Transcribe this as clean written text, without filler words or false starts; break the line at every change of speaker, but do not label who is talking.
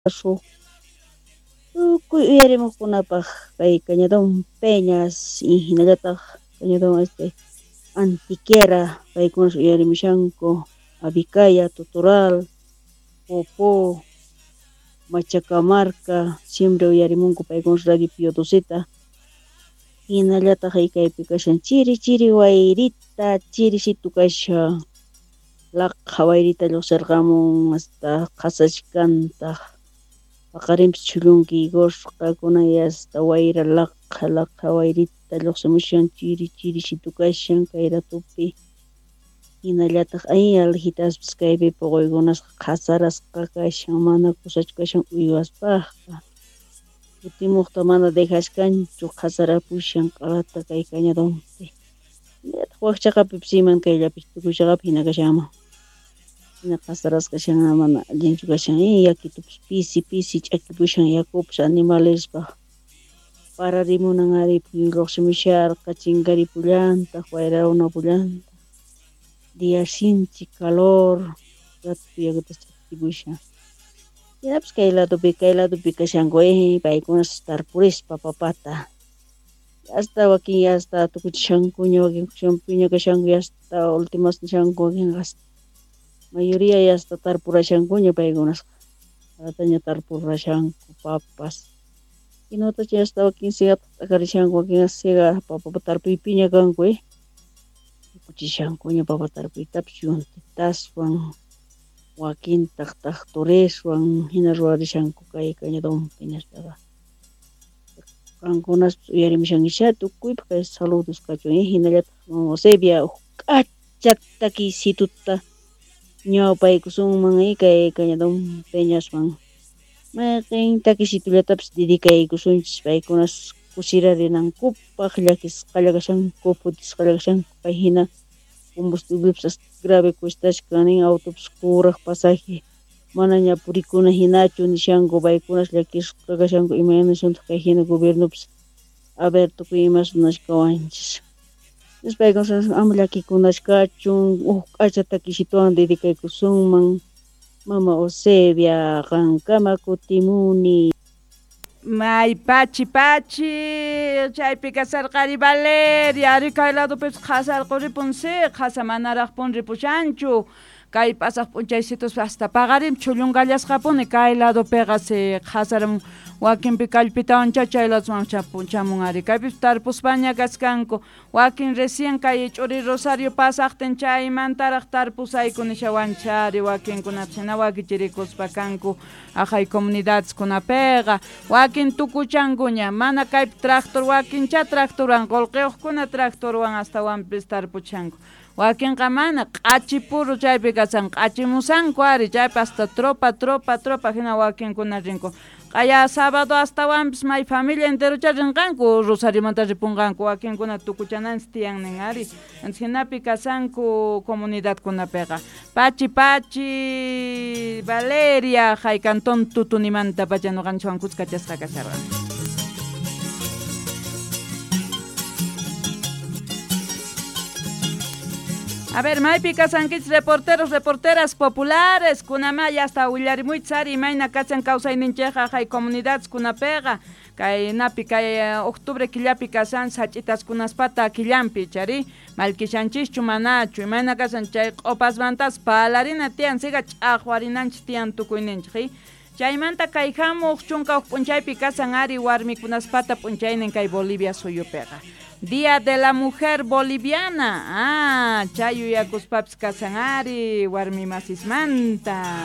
Huk tukuy uyarimuqkunapaq kay Cañadón Peñas y hinallataq Cañadón Antiquera paykunas uyarimushanku Avicaya, Totoral, Popó, Machacamarca siempre uyarimunku paykunas Radio Pío Doceta hinallataq kaypi kashan chiri chiri wayrita chirisitu kashan laqha wayrita lluqsirqamun hasta qhasachkantaq paqarinpis chhullunkikusqa kunan hasta wayra laqha laqha wayrita lluqsimushan chiri chirisitu kashan kay ratupi hinallataq ay alhitaspis kaypi puquykunasqa qhasarasqa kashan mana kusachu kashan uywaspaqqa kutimuqta mana dejashkanchu qhasarapushan q'alata kay cañadonpi hinallataq wak chaqapipis iman kayllapi tukuy chaqapi hina kashanman hina qhasarasqa kashan mana allinchu kashan yakitupis pisi pisi ch'akipushan yakupis animalespaq pararimunan ari phuyu lluqsimusharqa chinkaripullantaq wayrarunapullantaq día sinchi calor ratu yakutas ch'akipushan hinapis kay ladopi kashanku paykunas tarpurispa papata hasta wakin hasta tukuchishankuña wakin kushanpiña kashanku hasta últimas nishanku wakinqa hasta mayoría hasta tarpurashankuña paykunasqa qhataña tarpurashanku papas hinatacha hasta wakin siga t'akarishanku wakin siga papa tarpuypiña kanku tukuchishankuña papa tarpuytapis yuntitaswan wakintaq taqturiswan hina ruwarishanku kay cañadonpi nispaqa qankunaspis uyarimushankichá tukuypaq kay saludos kachun hinallataq mama Eusebia huk k'acha takiysituta ñawpaykusunman kay Cañadón Peñaswan mayqin takisitullatapis dedicaykusunchis paykunas kusirarinankupaq llakisqalla kashanku phutisqalla kashanku kay hina combustiblepis grave cuestashkan nin autopis kuraq pasaje manaña purikuna hinachu nishanku paykunas llakisqa kashanku imaynasuntaq kay hina gobiernopis a ver tukuy imas nashkawanchis paykunas ama llakikunashkachun huk k'acha takisituwan dedicaykusunman mama Eusebia qankama kutimuni.
May pachi pachi chaypi kasarqari Valeria ari kay ladopipis qhasarquripun si qhasa manaraqpun ripushanchu kay pasaq p'unchaysitus hasta paqarin chhullunkallasqapuni kay ladopiqa si qhasaram wakinpi kallpitawancha chay ladoman chamun ari kaypis tarpuspaña kaskanku wakin recién kay ch'uri Rosario pasaqtin chaymantaraq tarpusayku nishawanchari wakinkunapis hina wakichirikuspa kanku aqhay comunidadeskunapiqa wakin tukuchankuña mana kaypi tractor wakincha tractorwan qullqiyuqkuna tractorwan astawanpis tarpuchanku wakinqa mana q'achipuru chaypi kasan q'achimusanku ari chaypi hasta tropa tropa tropa hina wakinkuna rinku q'aya sábado astawanpis may familia enterocha rinqanku Rosariomanta ripunqanku wakinkuna tukuchananchis tiyan nin ari hinapi kasanku comunidadkunapiqa pachi pachi Valeria hay cantón Tutunimanta pacha nuqanchikwan kuskachasqa kasharqa. A ver, maypi kasankichis reporteros, reporteras populares, kunamaya hasta willarimuychis ari imayna kachan kawsayninchikqa hay comunidades kunapiqa kay napi kay octubre killapi kasan sach'itaskunaspata killanpi chari mallkishanchischu manachu imayna kasan chay q'upasmantas palarina tiyan siga ch'aqwarinanchis tiyan tukuyninchik chaymanta kay hamuq chunka huk p'unchaypi kasan ari warmikunaspata p'unchaynin kay Bolivia suyupiqa Día de la Mujer Boliviana. Ah, chay yuyakuspapis kasan ari warmi masismanta.